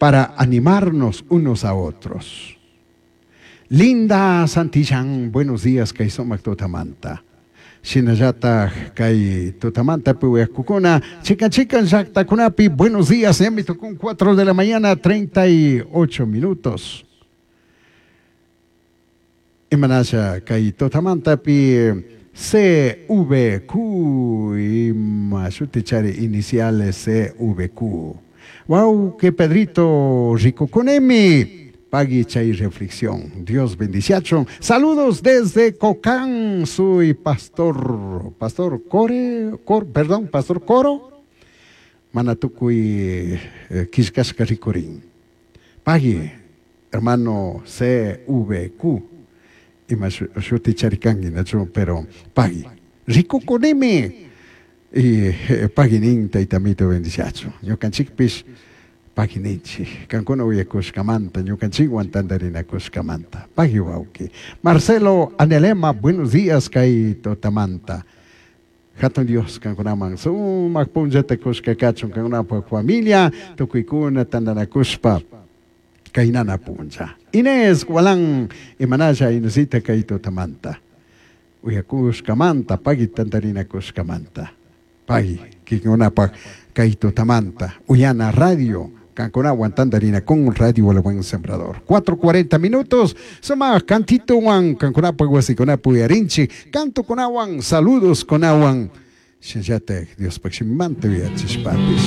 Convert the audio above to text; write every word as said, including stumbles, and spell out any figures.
Para animarnos unos a otros. Linda Santillán, buenos días, kay sumak tutamanta. Shinallataj kay tutamanta uyakukuna, chikan chikan llaktakunapi, buenos días, ya me tocó cuatro de la mañana, treinta y ocho minutos. Imanasha kay tutamantapi C V Q, ima shutichari iniciales C V Q. Wow, que Pedrito rikukunimi. Pagui chay reflexión. Dios bendiciachon. Saludos desde Cocán. Soy pastor, pastor Core, Cor, perdón, pastor Coro. Manatukuy eh, killkashka rikurin. Pagui, hermano C V Q. Ima shuti charikanki, nachu, pero pagui. Rikukunimi. Y eh, pagui nin taytamito bendiciacho. Ñukanchikpish pagui ninchik. Kankuna uyakushkamanta, ñukanchikwan tantarinakushkamanta. Pagui wawki. Marcelo Anelema, buenos días kay tutamanta. Hatun Dios kankunaman sumak punllata kushka kachun kankunapaq familia tukuykuna tantanakushpa kaynana punlla. Inés Gualán, imanalla Inesita kay tutamanta. Uyakushkamanta, pagui tantarinakushkamanta. Pagui, kikunapaq kay tutamanta. Uyana Radio, kankunawan tantarinakun Radio El Buen Sembrador. cuatro cuarenta minutos, sumak cantitowan, kankunapaq wasikunapi uyarinchik, canto kunawan, saludos kunawan. Shinallatak Diospaq shimimanta uyachishpapish.